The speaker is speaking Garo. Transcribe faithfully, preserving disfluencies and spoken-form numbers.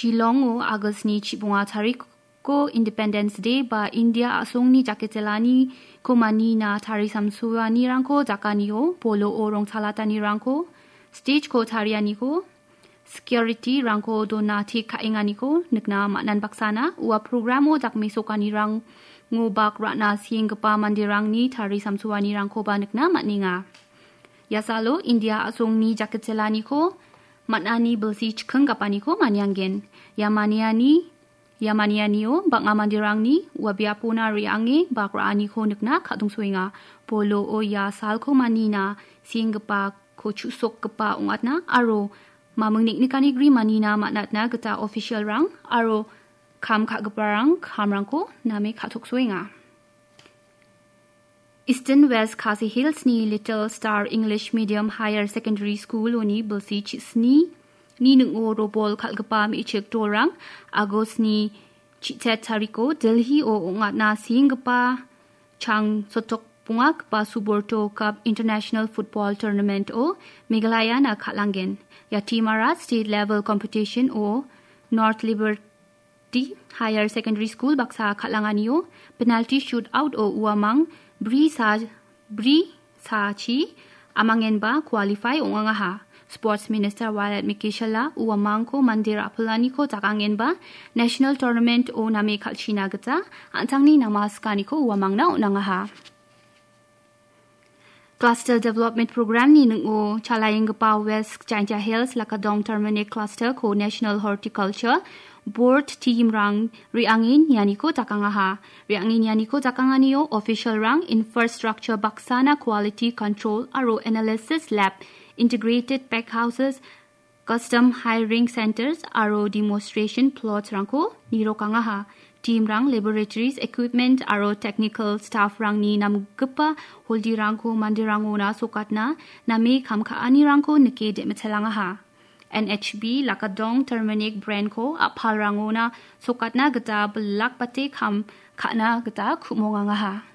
Shillongo Agostni chibonga tariko Independence Day ba India a·songni jaketjelaniko manina tarisamsoanirangko jakanio, poloo rongchalatanirangko, stageko tarianiko, security-rangko dona tik ka·enganiko nikna man·an baksana ua programo dakmesokanirango bak ra·na sienggipa manderangni tarisamsoanirangkoba nikna man·enga. Ia salo India a·songni jaketjelaniko man·ani bilsi chikinggapaniko maniangen. Ia maniani, ia manianio bang·a manderangni ua biapona re·ange bak ra·aniko nikna ka·dongsoenga. Poloo ia salko manina sienggipako chu·sokgipa ong·atna aro maming nik·nikanigri manina man·atna gita official-rang aro kam ka·giparang kamrangko name ka·toksoenga. Eastern West Khasi Hills-ni Little Star English Medium Higher Secondary School-oni bilsi chisni ni ning·o robol kal·gipa me·chik dolrang Agostni chichet tariko Delhi-o ong·atna sienggipa chang sotok bongagipa Suborto Cup International Football Tournament-o Meghalayana kal·angen. Ia team-ara state level competition-o North Liberty Higher Secondary School baksa kal·anganio penalty shootout-o uamang bri sa-, bri sachi amangenba qualify ong·angaha. Sports Minister Violet Mikishela uamangko mande ra·pilaniko jakangenba national tournament-o name kal·china gita an·tangni nama sikaniko uamangna on·angaha. Cluster Development Program-ni ning·o chalaenggipa West Jaintia Hills Lakadong Terminic Cluster-ko National Horticulture Board team-rang re·angen ianiko jakangaha. Re·angen ianiko jakanganio official-rang infrastructure baksana quality control aro analysis lab, integrated packhouses, custom hiring centers aro demonstration plots-rangko nirokangaha. Team-rang laboratories, equipment aro technical staff-rangni namgipa holdi-rangko manderangona sokatna name kam ka·anirangko nike de·mitelangaha. N H B Lakadong Terminic brand-ko a·palrangona sokatna gita bilakbate kam ka·na gita ku·mongangaha.